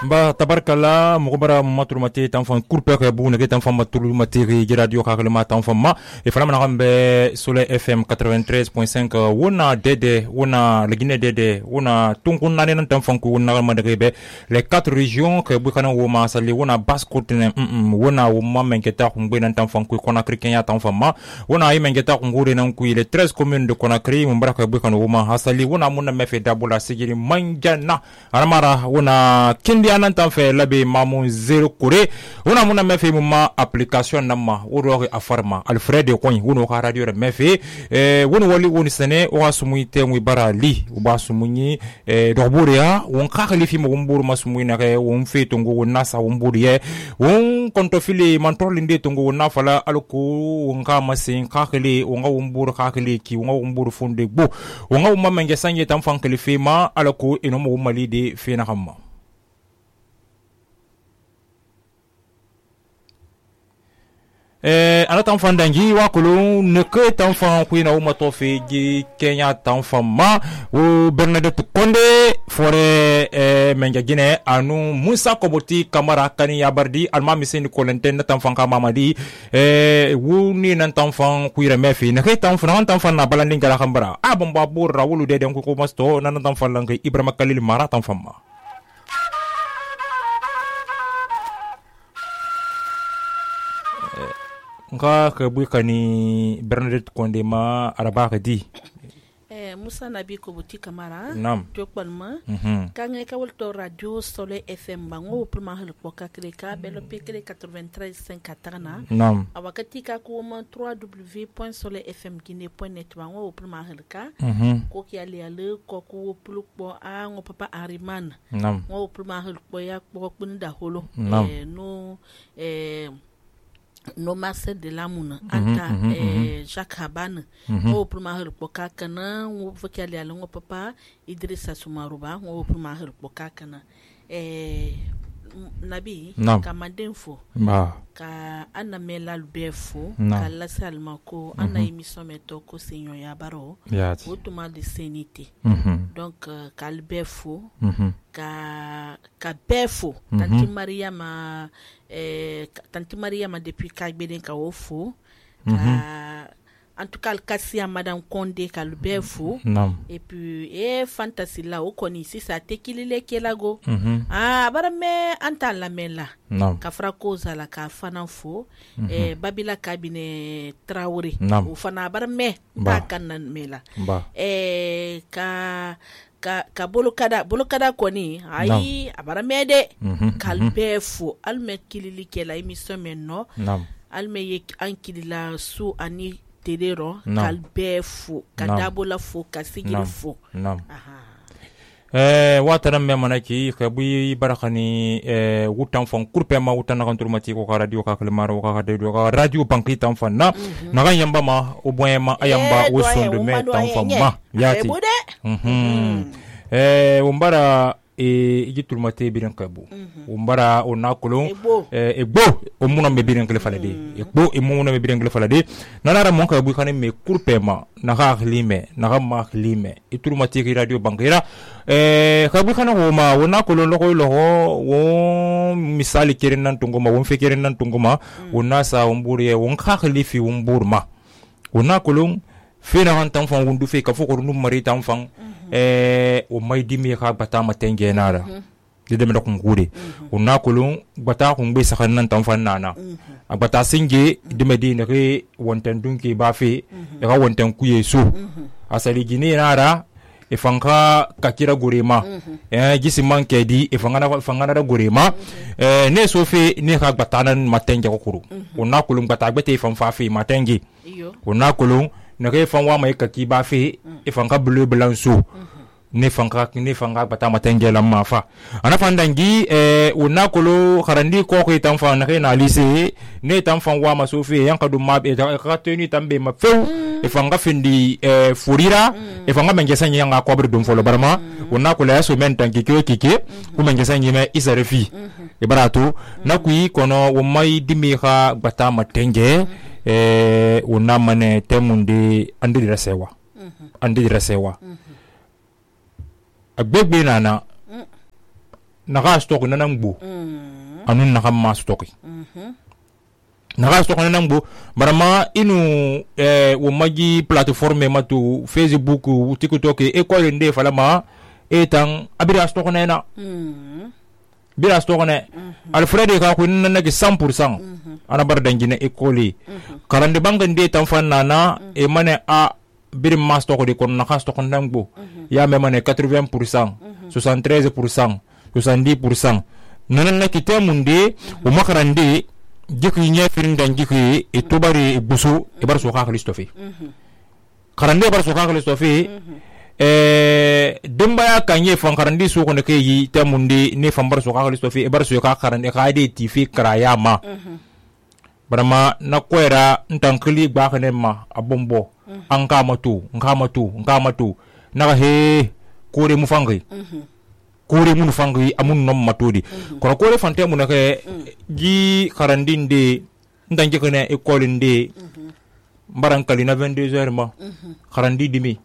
Ba tabarkala mugubara maturumate tanfan kurpe ke bu nege tanfan maturumate radio kakalima tanfan ma e fana mana gambe Soleil FM 93.5 wona dede wona legine dede wona tunkun nane nan tanfan ku wona mandebe les 4 régions ke bu kana wo ma sali wona basse-côte wona wo ma menketa ngbe nan tanfan ku Conakry Kenya tanfan ma wona ay menketa ngure nan ku les 13 communes de Conakry mbara ke bu kana wo ma hasali wona mun mefe dabula sigiri manjana aramara wona kindi anan tan fe labe mamun zero kure una muna mefe muma application namma woro afarma Alfred Koñ wono ka radio re mefe wono wali woni sene o asumuy te muy barali o basumuny doburia won khali fi mo mburu masumuy na ke won fe tongo wona sa won buriye won konto fili mantol inde tongo wona fala alko won ka masin khali won ga won buru khali ki won ga won buru funde bo won ga won mamenge sanje tan fan khalifi ma alko eno mo mali de fe na hamma ana tanfan dangi wa kulu neke tanfan kuina uma tofi gi Kenya tanfan ma o Bernadette Konde fore menja gine anu Musa Koboti Kamara kani yabardi alma miseni kolenten tanfan ka mamadi wuni nan tanfan kuira mefi neke tanfan na balandi ngala khambara abamba burra wulu de den ko masto nan tanfan langi Ibrahima Khalil Mara tanfan ma nga ke bukani Bernadette Konde ma araba ka di Musa Nabi Koboti Kamara jokbalma kange ka wolto radio Soleil FM bango prima hel poka kreka belo pekre 93.5 katana awakati ka ko mo www.soleilfmguinee.net bango prima hel ka ko ki ali ale ko ko plukbo a ngo papa Ariman ngo prima hel po ya ko kunda holo no Marcel de Lamouna anta Jacques Habane o prima hel poka kana o vokali ala ngo papa Idrissa Soumarouba o prima hel poka kana Nabi kamandenfo ka ana melal befo ka la salma ko ana émission meto ko senyo ya baro automa de senité donc ka befo ka befo tanti Mariama depuis ka beden ka ofo en tout cas Kassia madame Konde ka befo et puis fantasy la o koni si sa tekilile kelago bara me anta la mela ka frako zala ka fanafo babila kabine Traoré o fana bara me ta kanan mela ka bolokada koni ai abara mede kalbefo alme kilili kela émission menno alme yek ankilila su ani terero kalbefo kadabola fo kasigiri fo watara me manaki khabi barakani wutan fon kurpe ma wutan na kanturmati ko radio ka kalmaro ka radio banki tan fon na ga yamba ma o boyema ayamba wo sonde me tan fon ma yati umbara igiturmate biran kabu umbara onakulo egbo omuna me biran kele falade egbo emuna me biran kele falade nanara mon kabu kane me kurpema na ga lime na ga ma lime iturmate radio bankira kabu kana homa onakulo loko wo misali kerenan tungoma won fekerenan tungoma onasa umburiye won khalifi umburma onakulo fena han tanfan wundu fe ka foko num mari tanfan o may dimi ka bata matenge nara de me dokun gure onna kulun bata kun be sakan nan tanfan nana bata singe de medine re wonten dunki ba fe e ka wonten kuye so asali gine nara e fanka kakira gurema gisi manke di e fangana da gurema ne so fe ne ka bata nan matenge ko kuru onna kulun bata gbete fanfa fe matenge onna kulun nake fanwa mai kaki ba fe ifanka bleu blanc ne fanka bata matenge la mafa ana fandangi unakolo kharandi ko ko tanfa nake na lise ne tanfa wa masofi yanka du mabe ka tenu tambe ma feu ifanga findi furira ifanga mengesa nyanga ko bre dum folo barma unakolo yaso men tanki kike ku mengesa nyime isarefi ibaratu nakui kono wo mai dimiha bata matenge unamane temundi andi rasewa agbegbe nana naga stock nanambo anun naga ma stock naga stock nanambo barama inu wo magi plateforme matu Facebook TikTok école nde falama etan abira stock nena bira stock ne alfred ka ko nanaki 100% ana bar dangine école karande banga nde tan fanana e mane a bir ma stock de kon naga stock nanambo ya me mane 80% 73% 70% nanan kite munde o makarande jiki nya firin dan jiki e tobari busu e bar so ka Christophe karande bar so ka Christophe demba ya kanye fan karande so ko ne kai te munde ne fan bar so ka Christophe e bar so ka karande ka de tifi kraya ma barama na kwera ntankili gba kane ma abombo an kama tu na he kore mu fangi kore mun fangi amun nom matodi kono kore fante mun ke gi karandinde ndanje kene école nde mbarankali na 22h ma karandi dimi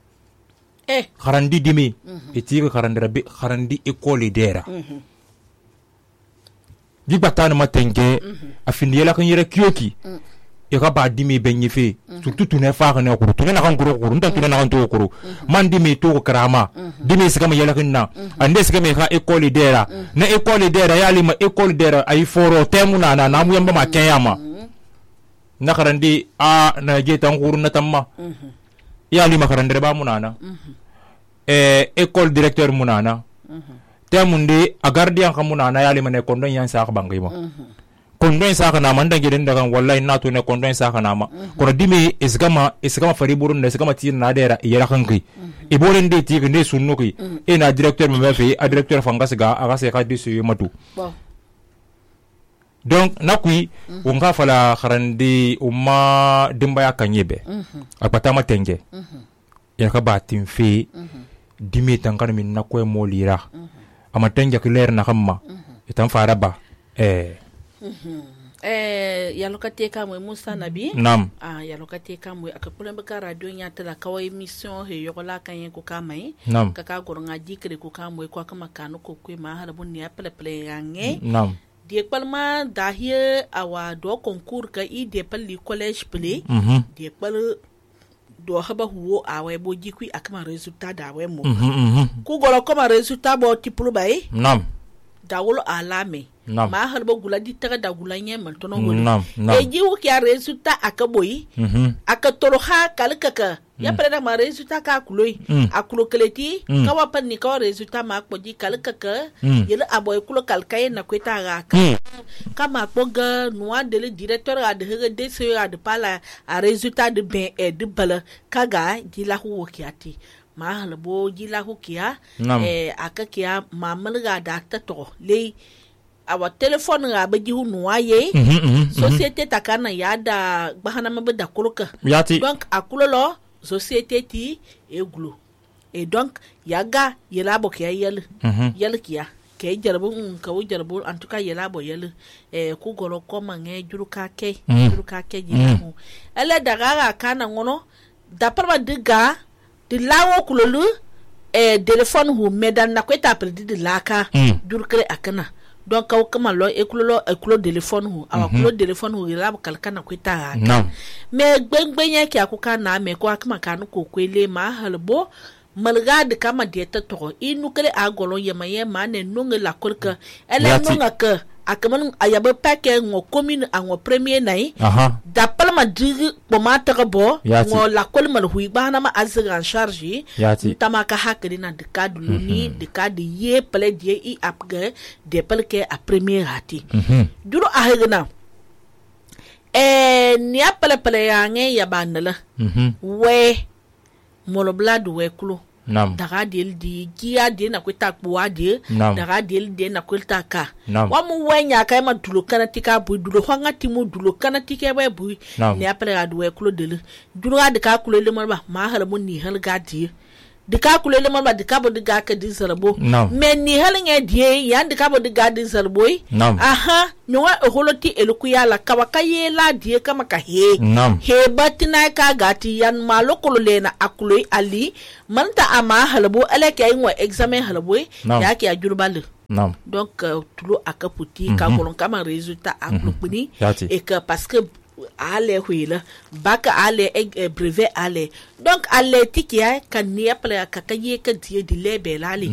karandi dimi etiga karandira be karandi école dera gi batana matenge afindi yela kan yere kyoki e ka ba dimi benye fe surtout tune fa ne ko tune na kan kuro nda tune na kan to kuro man dimi to karama dimi sigama yela kinna ande sigama ka école dera na école dera ya lima école dera ay foro temuna na mu yamba ma kenyama na karandi a na je tan kuru na tamma ya lima karandere ba munana école directeur munana temunde a gardien kamunana ya lima ne kondon yan sa ka bangima kondon sa kana man dange den daga wallahi na to ne kondon sa kana ma kono dimi isgama fari burun da isgama tin na dera yara kanki e bolen de ti ne sunno ki e na directeur me fe a directeur fanga siga aga se ka disu matu donc nakui unga fala kharandi umma dimba ya kanyebe apata matenge ya ka batin fe dimi tankan min nakwe molira amatenge kiler na kamma itan fara ba yalokate kamwe Musa Nabi nam yalokate kamwe akapula mbaka radio nya tala kawai emission he yokola kanye ko kamai kaka goronga dikre ko kamwe kwa kama kanu ko kwe ma halabun ya pele yange nam die palma dahie awa do concours ka I de pali college play die pal do haba huo awe bo jikwi akama resultat da we mo ku goro kama resultat bo tipulu bai nam dawolo alame ma halbo gula di taga da gula nye man tono ngoli e jiwu ki a resultat akaboyi aka tolo ha kalkaka ya preda ma resultat ka kuloi akulo keleti kawa pan ni kawa resultat ma akpoji kalkaka yele aboy kulo kalkaye na kweta ga kama akpoga noa de le directeur a de de se a de pala a resultat de ben et de bala kaga di la hu kiati ma halbo di la hu kia aka kia mamalga da ta to le awa telephone nga ba jihu nuaye société takana yada bahana mabada kuluka donc akulolo société ti eglu et donc yaga yelabo kia yel kia ke jarbu ka wo jarbu en tout cas yelabo yel ku golo koma nge juruka ke jimu ele daga kana ngono d'après diga de lawo kulolu téléphone hu medan na kweta perdi de laka jurkre akana donc kaw kama lo ekulo téléphone hu awa kulo téléphone hu ila kalkana kweta mais gbengbenya ki akuka na me ko akama kanu ko kwele ma halbo malga de kama dieta to inu kale agolo yema ne nunga la kolka ele nunga ka akaman ayabe pake ngo commune ngo premier nai da palma digi pomata bo ngo la kolma hui bana ma azga en charge tamaka hakri na de cadre luni de cadre ye pele die I apga de pelke a premier hati duro ahegna ni apele yange ya bandala we moloblad we klo daga del di giya de na kweta kbuwa de daga del de na kweta ka wa mu wenya kai ma dulo kana tika bu dulo hanga timu dulo kana tike ba bu ne apre adwe kulo de dulo ad ka kulo le ma hala mun ni hal gadi de ka kulo le de ka bo de ga ka di sarbo men ni hal nge die ya de ka bo de ga di sarbo aha nyowa holoti elukuya la kawaka ye la die kama ka he batina ka gati yan malokolo le na akulo ali manta ama halabo alake ay wa examen halabo ya ke ajurbal donc tulo akaputi ka kolon kama résultat aklupuni et que parce que ale huila baka ale brevet ale donc ale tikia kan ni apla ka kaye ka die di lebe lale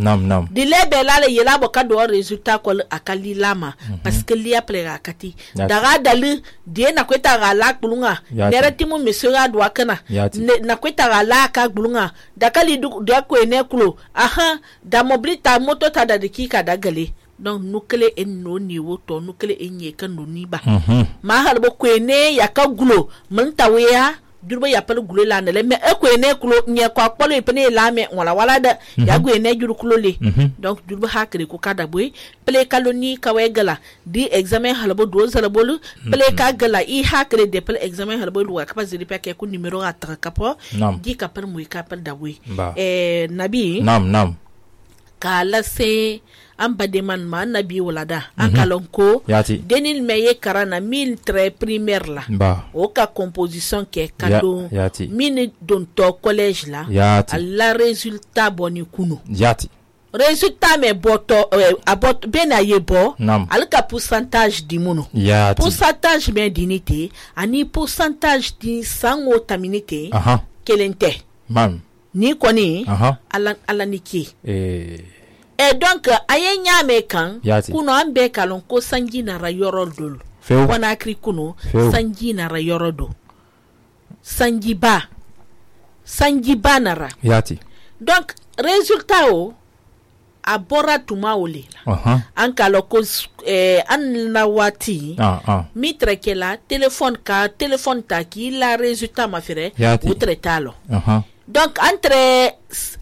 di lebe lale yela bo ka do résultat ko akali lama parce que li apla kati daga dali die na kweta ga la kulunga nerati mu mesura do akana na kweta ga la ka kulunga dakali du ko ene kulo aha da mobilita moto ta da dikika dagale donc nukele en no niveau to nukele enye kan no niba ma halbo kwene ya ka gulo mun taweya durba ya pal gulo la ndele me e kwene kulo nye kwa polo ipene la me wala da ya gwene juru kulo le donc durba hakre ko kada boy ple kaloni kawe gala di examen halbo do zalbolu ple ka gala I hakre de ple examen halbo lu ka pas de peke ku numero atra kapo di ka par muy ka par da boy nabi nam kala se an bademan ma nabi walada an kalonko denil meye karana min très primaire la o ka composition ke kado min don to collège la alla résultat boni kuno résultat me boto abot bena yebo al ka pourcentage di mono pourcentage ben dinité ani pourcentage di sango taminité kelente ni koni ala niki et donc aye nyame kan kuno ambe kalon ko sangi na rayoro dol wana kri kuno sangi na rayoro do sangi ba nara donc résultat o abora tuma ole an kalo ko an na wati mitre ke la téléphone ta ki la résultat ma fere ou tretalo donc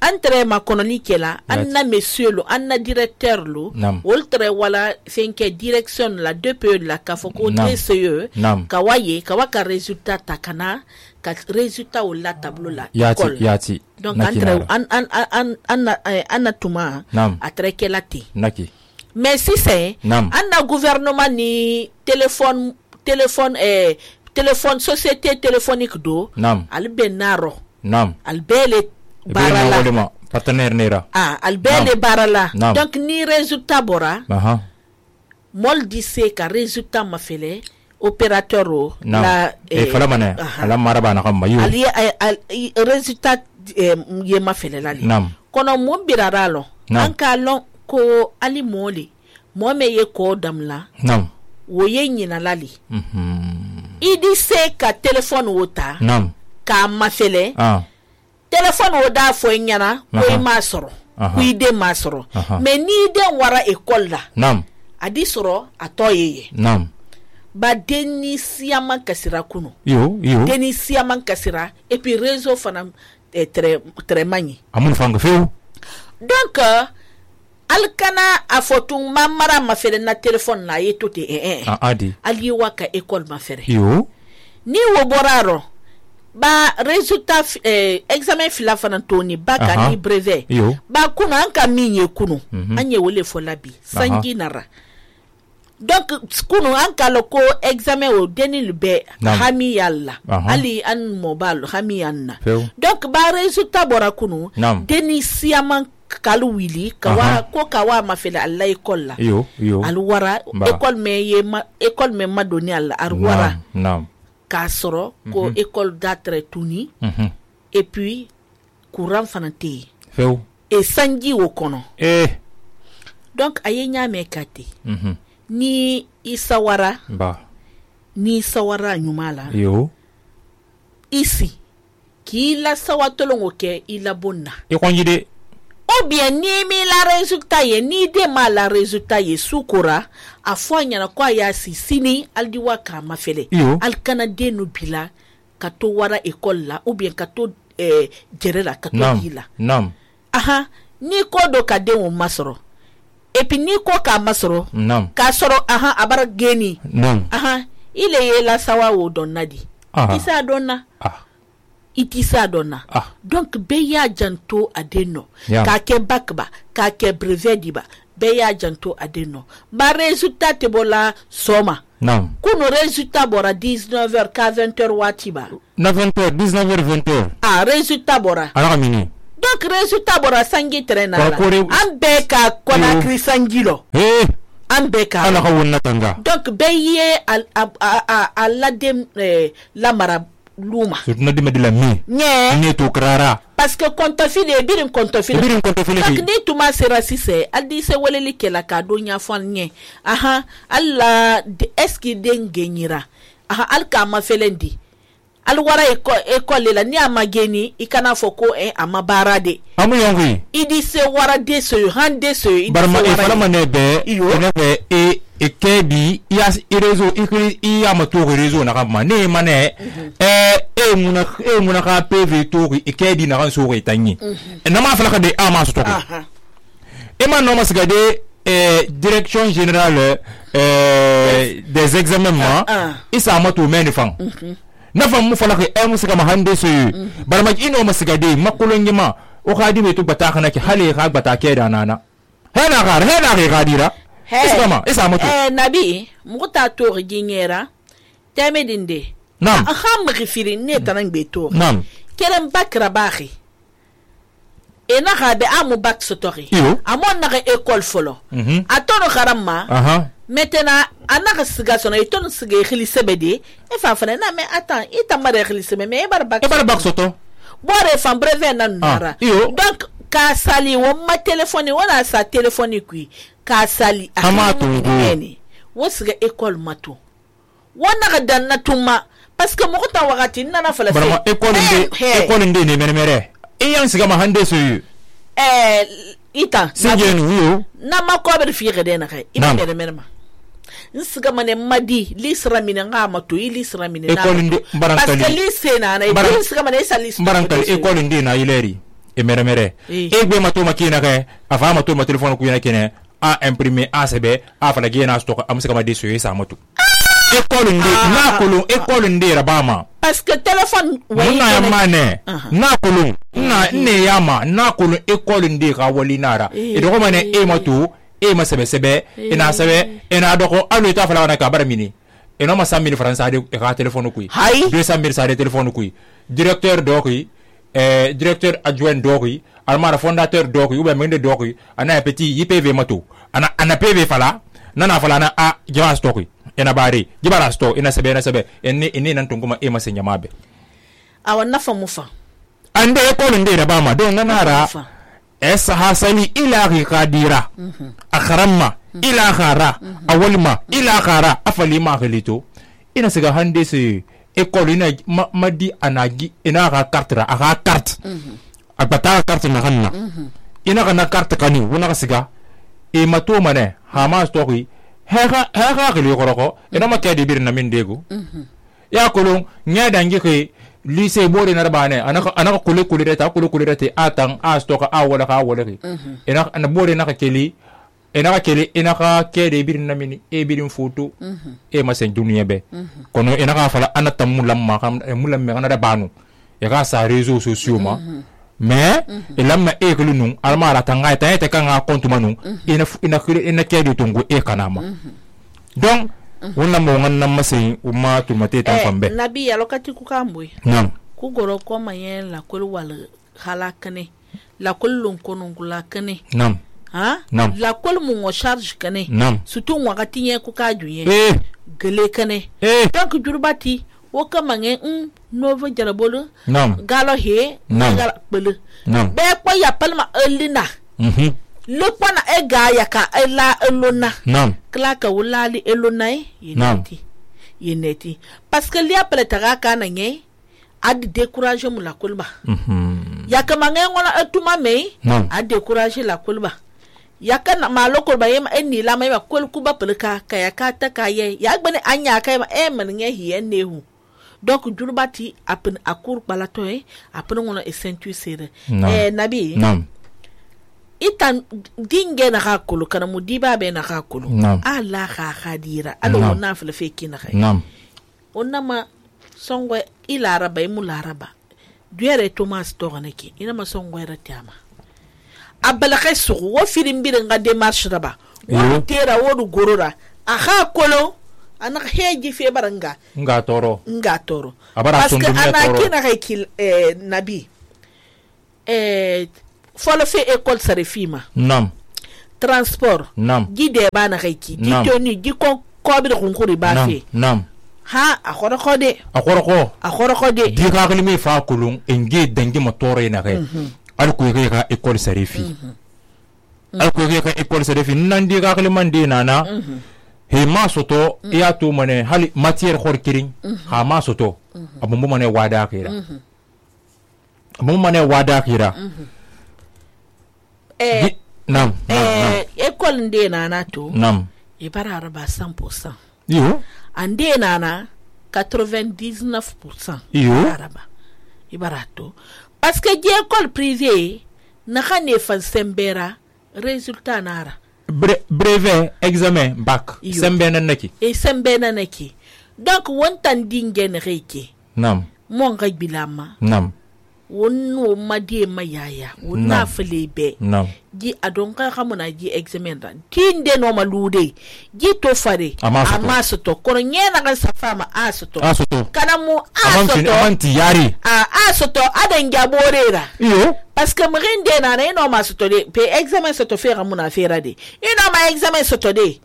entre ma koloni kela anna monsieur lo anna directeur lo woltre wala fenke direction la DPE la ka foko TCE kawaye kawaka résultat takana ka résultat o la tableau la yati donc entre anna tuma atre kela ti mais si c'est anna gouvernement ni téléphone société téléphonique do albenaro albele barala partenaire nera albele barala donc ni résultat bora mol dise ka résultat ma fele opérateur la fala mané ala maraba na kam mayu ali résultat ye ma fele lali kono mo biraralo an ka lon ko ali moli mo me ye ko damla wo ye nyina lali idi se ka téléphone wota ka mafele téléphone o da fo nyana ko ma soro ku ide ma soro mais ni de wara école la adi soro atoyeye ba deni siama kasira kuno deni siama kasira et puis réseau fana très mani amun fanga feu donc alkana afotu mamara mafele na téléphone la yetote adi ali waka école mafere ni wo boraro ba résultat examen fila fana toni baka ni brevet ba kuno anka minye kuno anye wole fo labi sangi nara donc kuno anka loko examen o denil be hami yalla ali an mobile hami yanna donc ba résultat bora kuno deni siaman kalu wili kawa mafele alla école la al wara école me madoni alla ar wara kasoro ko école d'atre tuni et puis courant fanate et sangi wo kono donc ayenya mekati ni isawara ni sawara nyumala ici ki la sawatolongo ke ila bonna e konjide ou bien ni mi la résultat ye ni de ma la résultat ye sukura afanya na kwa ya sini aldiwa ka mafele al canada no bila kato wara école la ou bien kato gerela kato hila aha ni ko do ka de o masoro et puis ni ko ka masoro ka soro aha abara geni aha ile ye la sawa wo donnadi isa donna itisa donna donc beya janto adeno ka ke bakba ka ke brevet diba beya janto adeno ba résultat te bola soma kuno résultat bora 19h ka 20h watiba 19h 20h résultat bora ala mini donc résultat bora sangi trena an be ka Conakry sangilo an be ka ala wonna tanga donc beye a la dem la mara luma surtout na de la mi ne to krara parce que kontofile birin kontofile donc ni tuma sera sise aldi se weleli kela ka do nya fon nye aha alla eski dengenyira aha alka ma felendi alwara école la ni amageni ikana foko ama barade amu yongi idi se wara de so hande so idi barma e fala manebe enebe e kebi ya réseau ikri ya mato réseau na kama ne mane muna ka PV to e kebi na kan so re tanyi na ma fala ka de ama so to e man no masigade direction générale des examens isa mato menifan nafa mu fala ke musika ma hande so barma ino masigade makulongi ma o khadi be to bata kana ki hale ga bata ke da nana hena ga dira isa mato nabi muta to ginyera temedinde nam kham rifiri ne tanan be to nam kelen bakra bahi ena ga be amu bak sotori amon na école folo atono kharamma maintenant anaka siga sona iton siga khili sebede e fa fana na me attends ita mare khili sebe me bar bak soto bore fam brevet nan nara donc ka sali wo ma téléphone wala sa téléphone kui ka sali amato ngeni wo siga école mato wona ga dan na tuma parce que mo ta wakati nana fala barama école nde ne mere e yan siga ma hande so ita singenu na ma ko be fi gede na kai ina mere merma nsiga mane madi lisra mina nga mato lisra mina na parce que lycée na na nsiga mane sa lycée barankal école ndi na ileri e mere gbe mato makina kai afa mato ma téléphone ku yana kene a imprimer a sebe a fala gena stock am siga ma de so sa mato école ndi na kolo école ndi rabama parce que téléphone wona ya mane na kolo na ne yama na kolo école ndi ka wali nara e do mane e mato e ma sebe ina sebe ina doko alu ta fala na ka baramini e no ma 100,000 francs ade e ka téléphone ku 200,000 sa de téléphone ku directeur doki directeur adjoint doki almara fondateur doki ou bien mende doki ana petit IPV mato ana PV fala nana fala na a jawas doki ina bare jibara sto ina sebe enne nan tunguma e ma senya mabe awan nafa mufa ande ko nde da bama don nanara esa hasali ila qadira akharamma ila khara awalma ila khara afalima khalito ina siga hande se école ina madi anagi ina ka carte aka carte akbata carte na hanna ina kana carte kani wona ka siga e mato mane hama stoki hega khili koroko ina makadi bir na mindego ya kolon nya dangi ke lycée bore na bane anaka kule reta atang a stoka a wala ke ina na bore na keli ina ka kede bir na mini e birin photo e ma sen duniya be kono ina ka fala anata mulamma kam mulamma kana da banu ya ka sa réseaux sociaux ma mais elamma e kulunu almara tanga ta kan compte manu ina kede tungu e kanama donc wonna mo nganna masai umma tumate tan fambe nabi ya lokati ku kambwe nam ku goro ko mayen la kul wal halakane la kullun kunun kulakane nam nam la kul mu ngo charge kane nam surtout wakati ye ku ka juye gele kane donc jurbati wo kama nge novo jarabolo nam galo he galo bele nam be ko ya palma elina le pana ega ya ka ela elona nam klaka wulali elonai yeneti parce que li appelle taraka na nye ad décourager mu la kulba ya kama ngona atuma me ad décourager la kulba ya kana maloko ba yema eni la mai ba kul kuba pelka kaya kata kaye ya gbene anya kai ma men nye hi enehu donc jurbati apen akur balato apen ngona esentu sere nabi nam itan dinge na hakulu kana mudiba be na hakulu ala khadira alo na flefe kina khay onama songwe ila araba mu laraba duere Thomas toraneki ina ma songwe ratama abala khasu wo filim bi nga démarche raba wo tera wo gorora aha kolo ana heji fe baranga nga toro abara parce que ana kina khay nabi folo fe école sare fima nam transport nam gide bana kaiki gitoni gikon kobir kunkuri ba fe nam ha akhoroko de di ka kalimi fa kulun enge dangi motore na kai alko yake ka école sare fi alko yake ka école sare fi nan di ka kaliman de nana he ma soto ya to mane hali matière khorkirin ha ma soto abumbu mane wada kira nam école nde nana to nam ibara araba 100% yo ande nana 99% yo araba ibara to parce que di école privée na khane fan sembera résultat nara brevet examen bac sembena naki donc wontan dingen reke nam mon ga bilama nam wonno madie mayaya wonna flebe nam gi adonka xamuna gi examen ran tinde no malude gi to fare amaso to kono nyena kan safama asoto kana mu asoto amanti yari asoto adan gaborera iyo parce que mrinde na no masoto de pe examen soto fe xamuna fera de ino ma examen soto de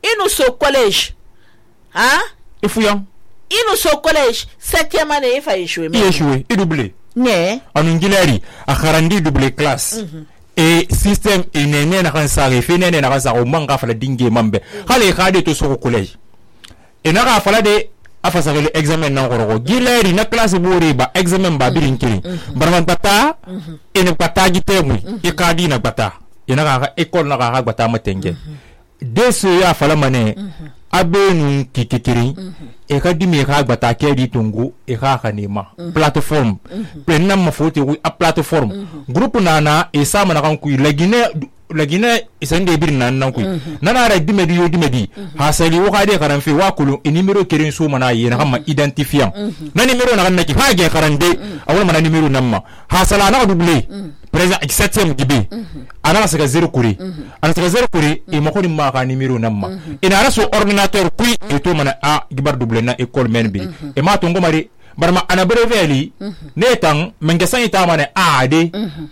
ino so collège ifuyam ino so collège 7e année fa échoué et doublé ne anungilari a kharandi double classe et système inene na kan sare fenene na kan sare manga fala dingue mambe khale khade to so collège et na ka fala de afasa le examen na ngoro gilari na classe bori ba examen ba birin kiri barman tata ene pata gitemu e kadi na bata ina ka école na ka bata matenge de ce ya fala mane abenu kikikiri e ka dimi ka gbata ke di tungu e ka kanima plateforme prenna mafote wi a plateforme groupe nana e sama na kan ku lagine isande bir nan ku nana ra dimedi hasali wo ka de karan fe wa kulu e numero kerin so mana yi na kama identifiant na numero na kan naki ha ge karande awon mana numero namma hasala na double présent 7e gibi ana saka 0 kuri ana saka 0 kuri e makoni ma ka numero namma ina raso ordinateur kui e to mana a gibar double na école men bi e ma to ngomari barma ana breveli netan mengesan ita mane a de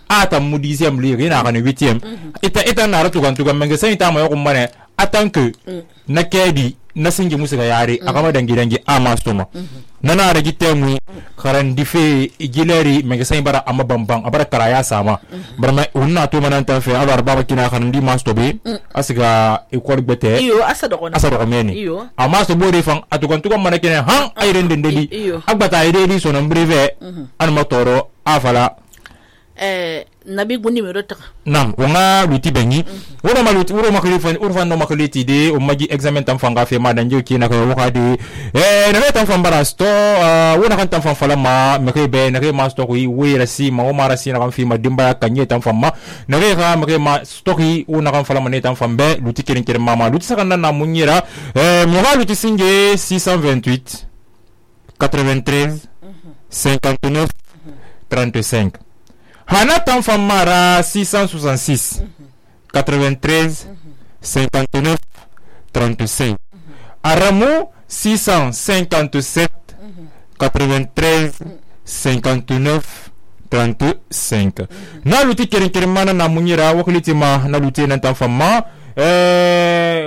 ata mu 10e ligue ina kan 8e ita na ratu kan tuga mengesan ita ma yo mane atanke na kedi na singi musika yare akama dangi ama soma nana ragi temu karan dife gileri mengesan bara amma bambang abara karaya sama barma unna to mananta fe alar baba kina kan di mastobe asiga école bete iyo asado meni ama so bori fan atukan tukan manakene han ayrende ndeli agbata iredi so na breve an motoro afala nabi gundi numero ta nam wonga luti bengi woro maluti woro maklifan urfan no makliti de o magi examen tam fanga fe ma danjo ki na ko wakadi na tam fam bara sto wona kan tam fam fala ma me ke be na ke ma sto ko wi rasi ma o mara si na kan fi ma dimba kanye tam fam ma na ke ga me ke ma sto ki wona kan fala ma ne tam fam be luti kirin kirin mama luti sakanda na munyira mo ga luti singe 628 93 59 35 Hana Tanfam Mara 666 93 59 35 Aramo 657 93 59 35 Na luti kerin na munyira wakilitima na luti nan Tanfam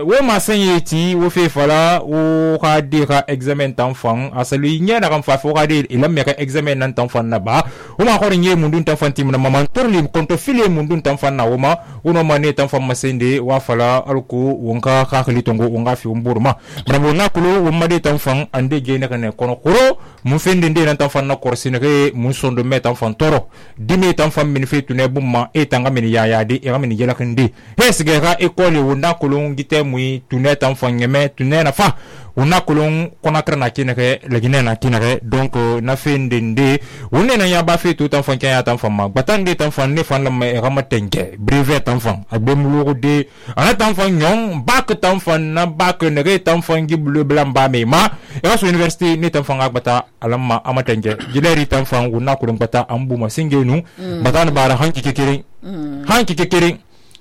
wo ma sanyeti wo fe fala wo ka de ka examen tanfan asali nya na kan fa fo ka de ilam me ka examen nan tanfan na ba wo ma ko nye mundun tanfan tim na maman torli konto file mundun tanfan na wo ma wono ma ne tanfan masende wa fala alko wonka ka khali tongo wonga fi umburma bravo na kulo wo ma de tanfan ande ge na kan kono kuro mun fende de nan tanfan na korsine ke mun sondo me tanfan toro dimi tanfan min fe tune bumma e tanga min ya de e ga min yela kan de hesge ga école wona kolon gite mui tunet en fangeme tunet na fa wona kolon konakra na kinake lagine na kinake donc na fendende wona na ya ba fe tout enfant kan ya tan fama batande tan fan ne fan la me ramatenge brevet tan fan abemulu de ana tan fan nyon bak tan fan na bak ne re tan fan gi bleu blanc ba me ma e so université ne tan fan agbata alamma amatenge gileri tan fan wona kolon bata ambuma singenu batana bara hanki kekere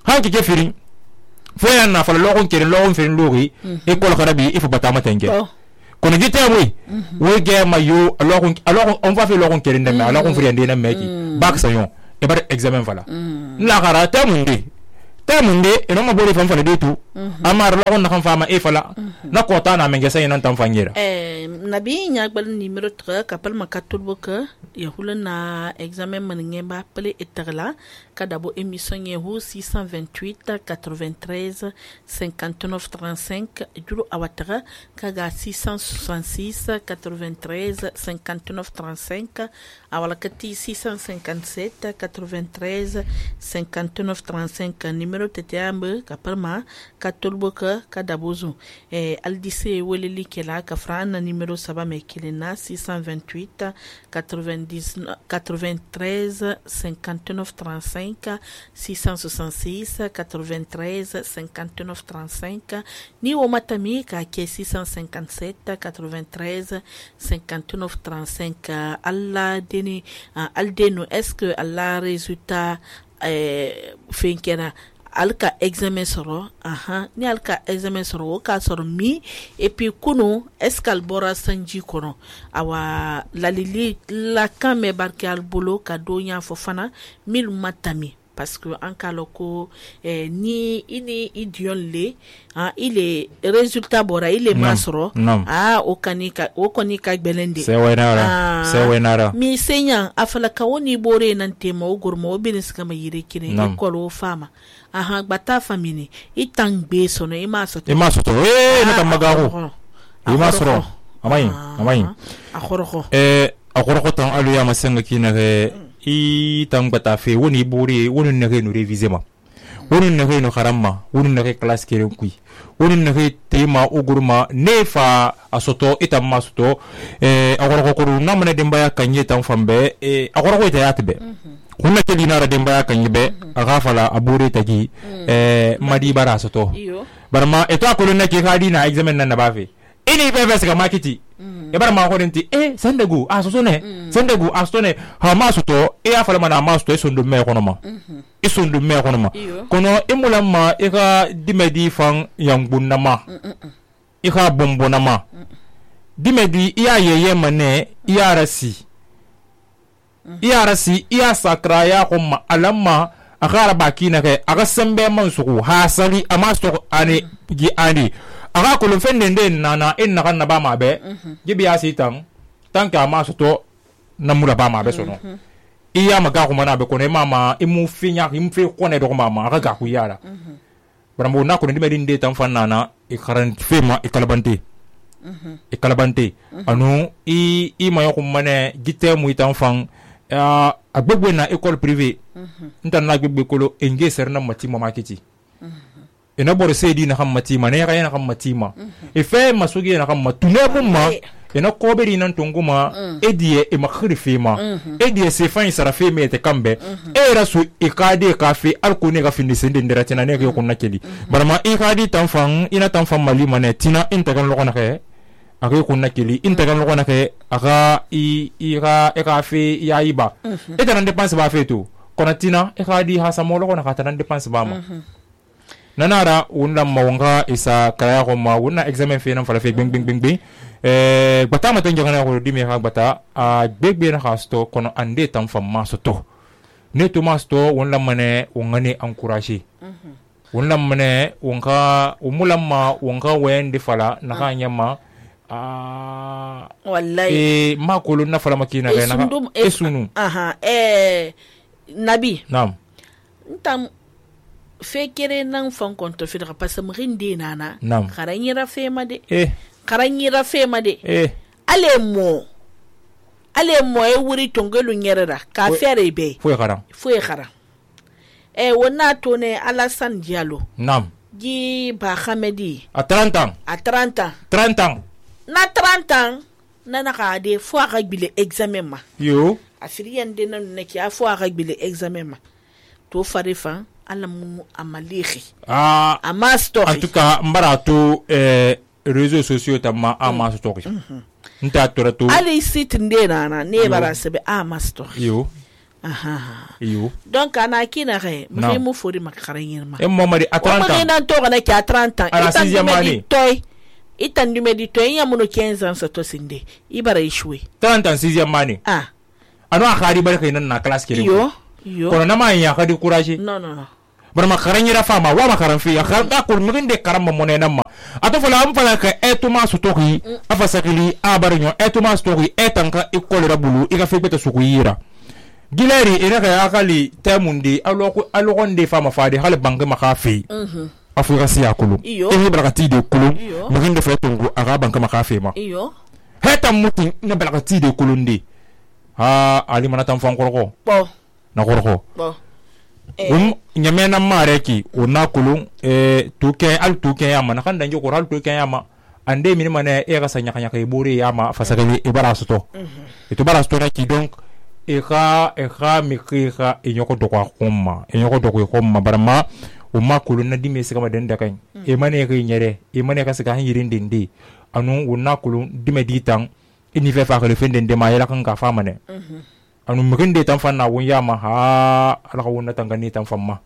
hanki kefirin foya na fala logon kere logon fen lori e ko kharabi il faut batama tenge kono gite oui we ge mayo logon on va faire logon kere ndeme logon friende na meki bak sayon e bar examen fala la gara ta munde eno ma bori fan fala de tu amar la on kan fama e fala na kota na menge sai nan tan fanyera nabi nya gbal numéro 3 kapal makatul boka ya hulana examen man ngemba pele eterla kada bo émission yehu 628 93 59 35 juro awatara kaga 666 93 59 35 awala kati 657 93 59 35 numéro teteambe kapalma katolboka kadabozo aldise weleli kela kafrana numéro saba mekilena 628 93 59 35 666 93 59 35 ni o matami ka ke 657 93 59 35 alla deni aldeno est-ce que alla résultat finkera alka examen soro ni alka examen soro ka soro mi et puis kuno escal bora sanji kono awa lalili la kame barke al bolo ka donya fofana mil matami parce que en kaloko ni ini idion le il est résultat bora il est masro o kanika belende c'est wenara mi senya afala kawoni bore nan tema o gormo o binis kama yire kine ekolo fama bata famini itang be sono imasoto na tamagaho imasro amai akhoroko tan aluya masenga kina i tang bata fe woni bore woni na no réviser ma woni na no kharamma woni na classe kere kui woni na tema ogurma nefa asoto itam masoto agoroko ko na mane demba ya kanye tan fambe agoroko ita yatbe kunna keli nara demba ya kanye be aga fala abure tagi madi bara soto barma eto akolo na ke khadi na examen nan na bafe ini bebes ga makiti bara ma ko denti sendegu sendegu asone ha masuto afala mana masuto sondu me kono ma sondu me kono ma kono imulama ika dimedi fan yangbunna ma ika bombona ma dimedi iya yeye mane iya rasi iya sakra ya kuma alamma akara bakina ke aga sembe mansuku hasali amasto ani gi ani aga ko fende nden nana en nakan na ba mabe gibi asitan tanka masoto namura ba mabe sono iya maga ko mana be ko ne mama imu finya imfe ko ne do mama aga ga ku yara brambo na ko ndi medinde tan fanana e karan fema e kalabante anu i mayo ko mane gite mu itan fan agbegbe na école privée ntan na gbegbe kolo enge serna matima makiti ina bor sedi na matima ne ga na matima e fe masugi na matune mumma ina koberi nan tunguma edie e makhrifi ma edie se fa isara fe mete kambe e rasu ikade kafe alkune ga findi sende ndiratina ne ga kunna keli barma ikadi tanfan ina tanfan mali mane tina intagan lokona ke aga kunna keli intagan lokona ke aga eka fe yaiba etanan dépense ba fe to konatina ikadi hasamo lokona ka tanan dépense ba ma nanara wonna mawanga isa kaya ko ma wonna examen fe nan fala fe bing bata ma tan jangana ko dimi ha bata a begbe na hasto kono ande tan fam masoto ne to masto wonna mane wongane encourager wonna mane wonka umulamma wonka wende fala na kanyama wallahi ma ko na fala makina ga na esunu nabi nam ntam fekere nan fan konto fidra pasamrinde nana karanyira fema de karanyira fema de alemo e wuri tongelu nyerera ka fere be fo khara wona to ne Alassane Diallo nam gi ba Khamedi a 30 ans na 30 ans nana ka de fo aga bile examen ma yo afiriyan de nan ne ki fo aga bile examen ma to farifa alamu amalihi amastory en tout cas mbarato réseaux sociaux tamma amastory nta torato ali site ndena ne bara sebe amastory yo donc ana kina re mu fori makaranyin ma momari a 30 ans nan to kana ki a 30 ans à la 6e année itan du meditoy yamuno 15 ans sa to sinde ibara ishwe 30 ans 6e année ano akhari barka nan na classe kele yo kono na ma ya ka décourager non barama karanyira fama wa makaran fi akharda ko miginde karamba monena ma ato fala am fala ka etuma sutoki afa sakili abarnyo etuma sutoki etanka ikolera bulu ika fe beta sukuyira gileri ina ka akali temundi alokonde fama fadi hal banke makafi Afrika siya kulu ehi barakati de kulu muginde fe tungu aga banke makafi ma heta mutin ne barakati de kulundi ali manatan fankoroko na koroko nyamena mareki una kulun tuke al tuke yama na kan danjo koral tuke yama ande min mane e ga sanya kanya kay buri yama fasakali ibarasto itu barasto na ki donc e ga mikira e nyoko dokwa komma barama umma kulun na dime sika maden da kan e mane ga nyere e mane ka sika han yirin dindi anu una kulun dime ditan ini fe fa ko fende de ma yela kan ka fa mane anu muginde tan fanna won yama ha ala ko wonna tangani tan famma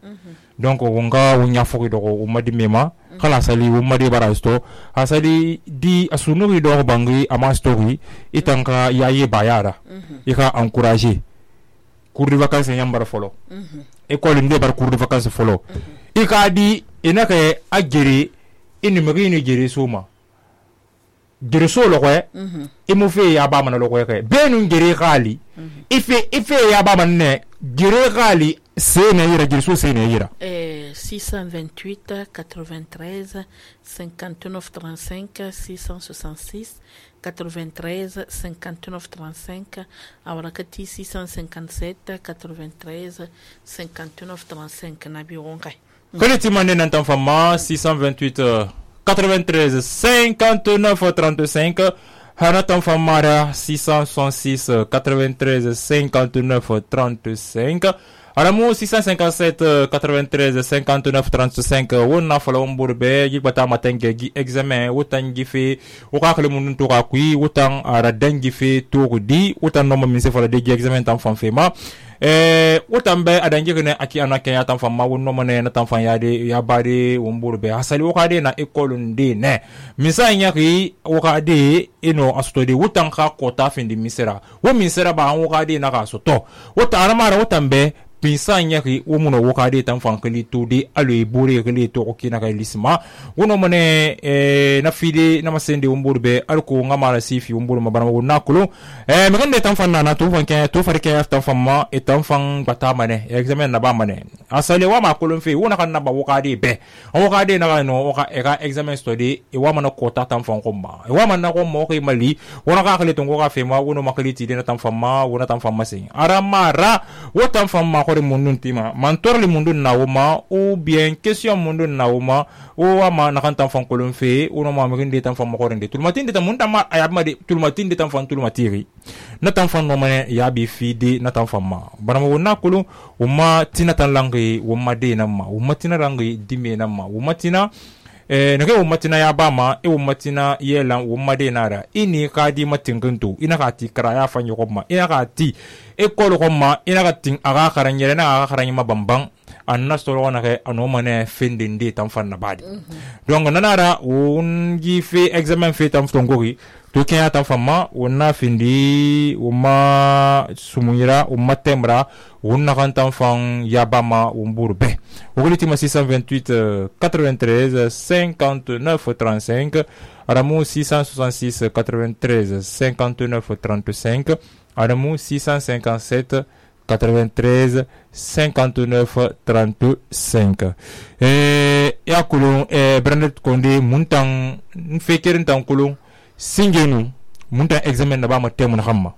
donc wonga wonya foki do ko umadi mema kala sali umadi barasto asali di asunu do bangi ama story itanka yaye bayara ika encourager cours de vacances nyambara folo école ndi bar cours de vacances folo ika di inaka agere ini magini jere soma jere so lo ko imu fe ya ba man lo ko ke benu jere khali ife ya ba man ne jere khali sene yira jere so sene yira 628 93 59 35 666 93 59 35 awrakati 657 93 59 35 na bironka koleti mané nantan fama 628 93 59 35 Hanatan Famara 666 93 59 35 Alamu 657 93 59 35 wonna fala umburbe yibata matenge gi examen wutan gife ukakale munun to kakui wutan ara dangi fe to di wutan no minse fala de gi examen tan fanfema wutan be adangi ne aki anake ya tan famma wonno mane na tan fan yade ya bare umburbe asali wakade na école ndi ne misa nyaki wakade ino astodi wutan ka kota fin di misera wo misera ba wakade na ka soto wutan mara wutan be pinsa nyaki womuno wokade tan fankali tudi alo bore kali to okina kay lisma wono mane na fide na masende umburbe alko ngamara sifi umbur mabana wona kulo megande tan fanna na to fanke to farke tan famma e tan fan bata mane examen na ba mane asale wa ma kulo fe wona kan na ba wokade be wokade na no woka eka examen study e wa mana kota tan fan komma e wa mana ko mo kay mali wona ka kale to ngoka fe ma wono makali ti de na tan famma wona tan famma sin aramara wotan famma kore mundun tima mantor le mundun nawuma ou bien question mundun nawuma o ama nakantan fan kolon fe o no ma ngende tan fan makorende tulmatin de tan munda ma ayama de tulmatin de tan fan tulmatiri na tan fan no mane ya bi fide na tan fan ma barama wona kulu o ma tina tan langi o ma de na ma o ma tina rangi dime na ma o ma tina nake o matina ya bama e o matina yela o made nara ini ka di matinguntu ina ka ti kara ya fanyo koma ina ka ti e kolo koma ina ka tin aga karanyere na aga karanyima bambang anna stolo na ke anomane fendinde tan fanna badi donc nanara on gi fe examen fe tan ftongogi to kenya tan famma wonna findi umma sumuira umma tembra wonna kan tan fan yabama umburbe ogolitima 628 93 59 35 aramu 666 93 59 35 aramu 657 93 59 35 ya kulun Brandet Konde muntan fekerin tan kulun singenu muntan examen na ba ma temu na hamma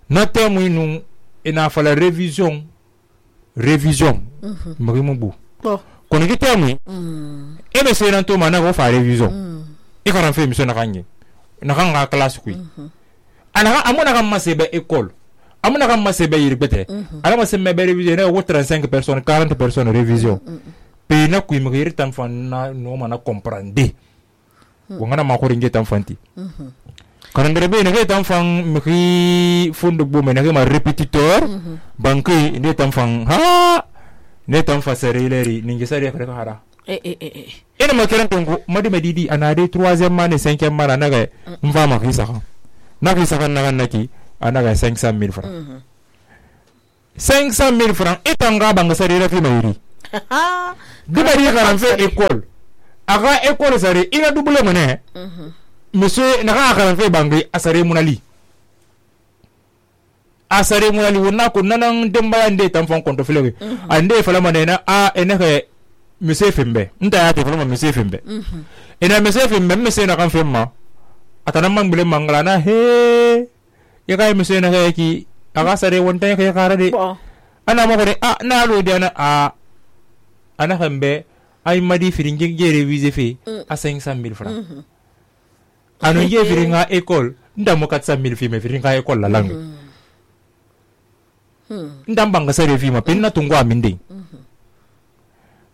na temu inu ina fala revision marimu bu kono ki temu ebe seran to mana go fa revision e karan fe mission na kanye na kanga class kui ana amuna kam masebe école amuna kam masebe yirbete ala masebe be revision na wo 35 personnes 40 personnes revision pe na kui mugir tan fan na no mana comprendre wongana ma ko ringe tan fanti karandere be ne tan fan miki fondo bo me ne ma répétiteur banque ne tan fan ne tan fa sereleri ninge sare ka hara ina ma kiran tongo madi medidi anade 3e mane 5e mane naga mva ma kisa na kisa kan naga naki anaga 500,000 francs 500,000 francs itanga banga sare rafi mayiri dibari karan fe école aga école sare ina double mane monsieur naka karan fe bangi asare munali wonna ko nanan demba nde tamfon konto filege ande fala manena a eneke monsieur fembe nta ya te fala monsieur fembe ina monsieur fembe monsieur na kan femma atana mangbele mangala na he ya kai monsieur na ki aga sare wonta ya kara de ana ma ko de na lo de ana hambe ay madi firinge gere vise fe a 500,000 francs anu ye firinga école ndamo 400,000 fi me firinga école la langue ndam banga sare fi ma penna tungo aminde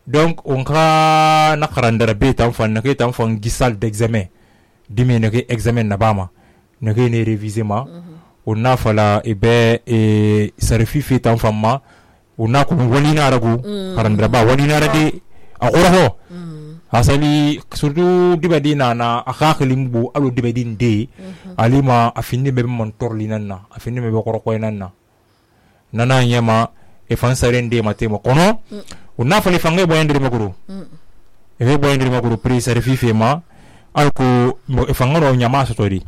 donc on ka na karandara be tan fan na ke tan fan gisal d'examen dimi na ke examen na bama na ke ne réviser ma on na fala e sare fi fi tan fan ma on na ko wali na ragu karandara ba wali na rade a qoro asali surtout dibadi na akhakhlimbu alo dibadi nde alima afindi be mon torli nanna afindi be ko ko nanna nana nyama e fan sare nde matemo kono una fali fange boyandiri makuru e boyandiri makuru pri sare fife ma alko e fangoro nyama so tori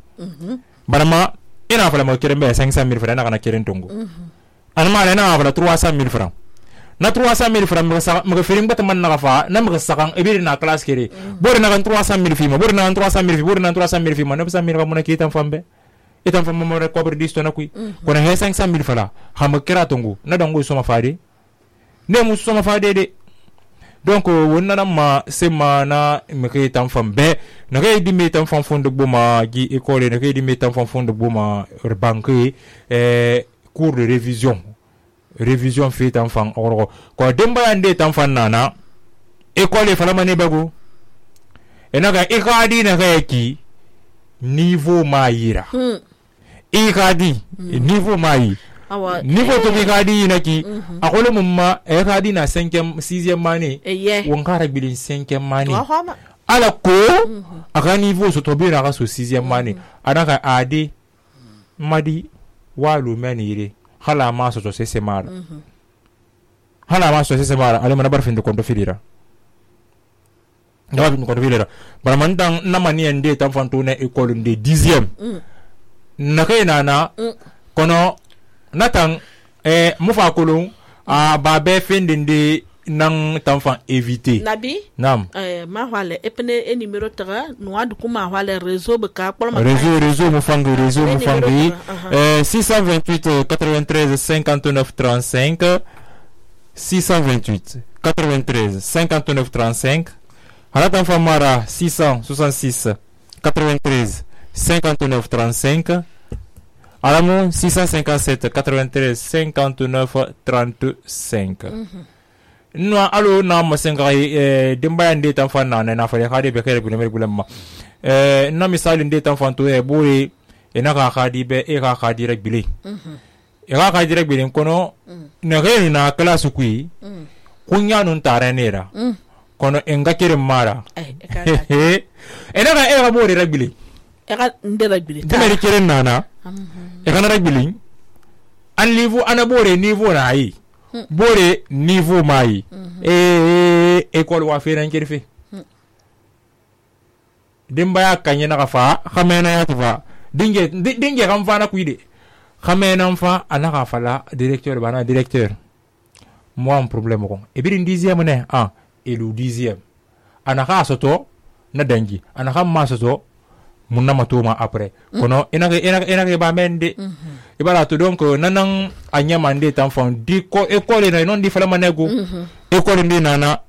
barama ina fala mo kirembe 500,000 francs na kana kiren tongo anma na fala 300,000 francs na 300,000 francs mga filim bata man nakafa na mga sakang ibiri na class kiri bori na kan 300,000 fima bori na kan 300,000 bori na 300,000 fima na 100,000 ka muna kita fambe itan fam mo re cobre disto na kui kona he 500,000 fala ha ma kira tongo na dango so ma fade ne mu so ma fade de donc wonna na ma sema na me kay tam fam be na kay di me tam fam fondo boma gi école na kay di me tam fam fondo boma banque cours de révision fait tam fam oro ko demba ande tam fam nana école fala mane bago enaka ikadi na kay ki niveau mayira ikadi niveau mayi niveau to ikadi naki akole mumma ikadi na 5e 6e mane won kara bilin 5e mane ala ko aka niveau so to bi na ka so 6e mane anaka ade madi walu menire hala ma so se mara ale mana barfin de konto filira ndawa bi ko filira bara man dan na mani ande tan fanto na école de 10e na kai na kono natan mufa kulun ba be findin de nan tanfan éviter nabi nam ma wale epne numéro tara no adu kuma wale réseau beka réseau mufangi 628 93 59 35 628 93 59 35 Haratan Famara 666 93 59 35 Alamo 657 93 59 35 no alo na masenga demba ande tan fan na fa khadi be kare guleme gulemma na misali ande tan fan to boy na ka khadi be ka khadi rek bili ka khadi rek bili kono na gani na class kui kunya nun taranera kono enga kire mara enaka era bore rek bili eka ndera bili demeri kire nana kana rek bili an niveau ana bore niveau na yi bore niveau mai école wa feran kirfe dimba ya kanye na kafa khamena ya tufa dinge kam fa na kuide khamena fa ana ka fala directeur bana directeur moi un problème ko e birin 10e ne et le 10e ana ka soto na dangi ana ka ma soto munna matoma après kono enake ba mende ibara to donc nanan anyama nde tanfan di ko école na non di fala manego école ndi nana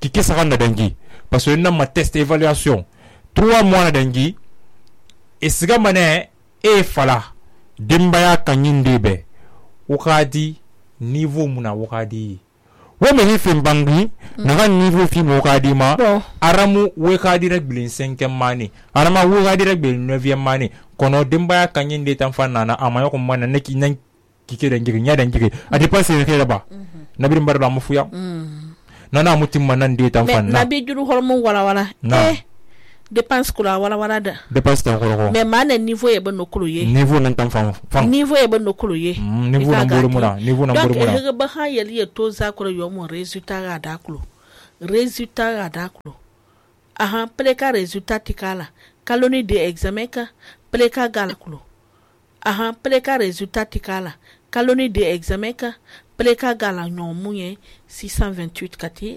kikisa kan dangi parce que na ma test évaluation 3 mois na dangi et siga mané e fala dimba ya kanyinde be wakadi niveau muna wakadi wo me hifin bangi na kan niveau fi mo wakadi ma aramu wakadi rek bilin 5e mani arama wakadi rek bilin 9e mani kono dimba ya kanyinde tanfan nana amayo ko mana neki nan kike da ngiri nya da ngiri a dépenser ke ba na birin bar da mu fuya nana mutim manan de tanfan na bi juru hormon wala dépense kula wala da dépense tan ko mais mana niveau e ban no kulu ye niveau nan tan fam niveau e ban no kulu ye niveau nan buru mura niveau nan buru mura donc e ba ha yali e to za ko yo mo résultat ga da kulu aha pleka résultat tikala kaloni de examen ka pleka gala kulu aha pleka résultat tikala kaloni de examen ka pleka gala nyomunye 628 kati